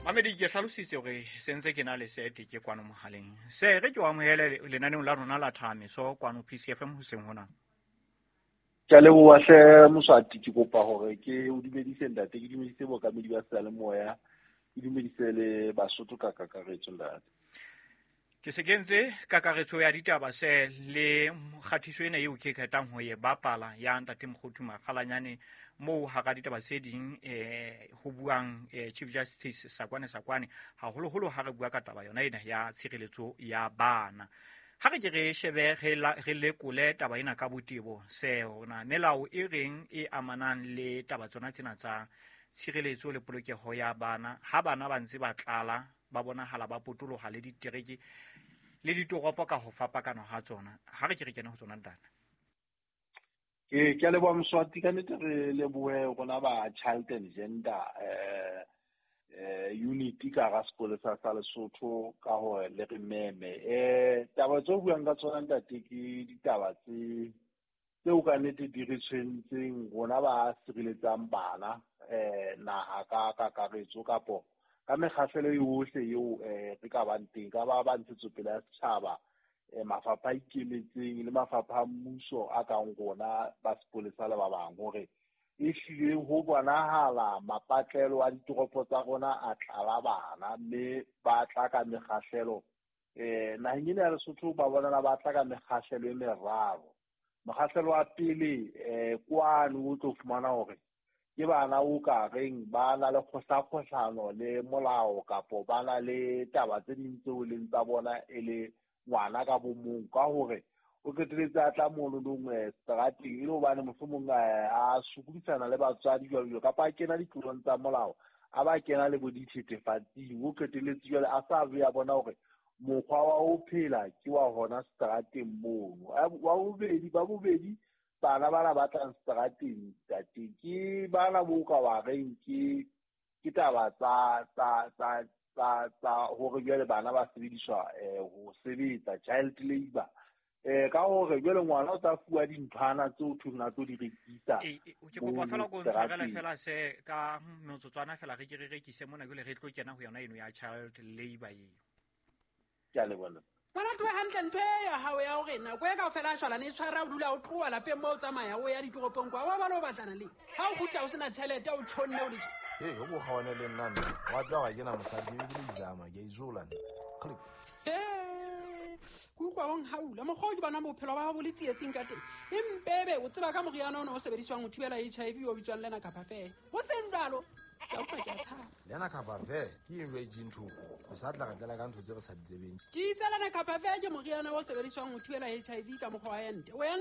Mamedi, ke hlalositse hore se ntse ke na le sete ke kwano mohaleng. Se re ke o amohele lenaneong la rona la Thamiso kwano PCFM hoseng hona. Ke a leboha hle Moswati, ke kopa hore ke o dumedise ntate, ke dumedise bookamedi ba seyalemoya, ke dumedise le Basotho ka kakaretso ntate. Ke se kentse kakaretso ya ditaba se le kgatiso ena eo ke qetang ho e bapala ya ntate Mokgothu Makgalanyane, moo hara ditaba tse ding ho buang Chief Justice Sakwane Sakwane, haholoholo ha re bua ka taba yona ena ya tshireletso ya bana. Ha re ke re shebe re lekole taba ena ka botebo se hona melao e reng e amanang le taba tsona tsena tsa tshireletso le polokeho ya bana. Ha bana ba ntse ba tlala, ba bonahala ba potoloha le ditereke le ditoropo ka ho fapakana ha tsona. Ha re ke re kene ho tsona ntate. Ke a leboha Moswati, ka nnete re lebohe rona ba Child and Gender Unit ka hara sepolesa sa Lesotho ka hore le re meme. Taba tse o buang ka tsona ntate ke ditaba tse tseo ka nnete di re tshwentseng rona ba sireletsang bana naha ka kakaretso kapo ka mekgahlelo yohle eo re ka bang teng, ka ba ba ntshetsopele ya setjhaba, mafapha a ikemetseng le mafapha a mmuso a kang rona ba sepolesa le ba bang, hore ehlile ho bonahala mapatlelo a ditoropo tsa rona a tlala bana, mme ba tla ka mekgahlelo. Naheng ena ya Lesotho ba bonala ba tla ka mekgahlelo e meraro. Mokgahlelo wa pele kwano o tlo fumana hore ke bana o ka reng ba na le kgohlakgohlano le molao kapo ba na le taba tse ding tseo leng tsa bona e le ngwana ka bo mong, ka hore o qeteletse a tla mononong seterateng e le hobane mohlomong a sokodisana le batswadi jwalo jwalo, kapa a kena ditlolong tsa molao, a ba kena le bo dithethefatsing, o qeteletse jwale a sa ya bona hore mokgwa wa ho phela ke wa hona seterateng mono. Wa bobedi, ba bobedi bana bana ba tlang seterateng ntate ke bana bo ka wa reng ke taba tsa tsa tsa tsa tsa hore jwale bana ba sebediswa ho sebetsa child labor, ka hore jwale ngwana o tla fuwa dinthwana tseo thweng a tlo di rekisa. Ke kopa fela ko ntshwarele fela se ka metsotswana fela re ke re rekise mona, jwale re tlo kena ho yona eno ya child labor eo. Ke a leboha. Ngwana tlohe hantle ntho e ya hao ya hore nako e kaofela a shwalane e tshwara o dula o tloha lapeng moo o tsamaya o ya ditoropong kwa wa ba le o batlana le ha o kgutla o sena tjhelete o tjhonne o le tje. Hey, o bo kgawane le nna nna. Wa tseba ga ke na mosadi, ke be ke le izama, ke a izola nna. Click. Ke utlwa o nhaula. Mokgwa o ke bonang bophelo ba hao bo le tsietsing ka teng. Empebe o tseba ka moriana ona o sebediswang ho thibela HIV o bitswang Lena Kapa Fe. Ho seng jwalo, ke a utlwa ke a tshaba. Lena Kapa Fe ke eng jwale ntho? O sa tla re tlela ka ntho tse re sa di tsebeng. Ke itse Lena Kapa Fe ke moriana o sebediswang ho thibela HIV ka mokgwa wa ente. O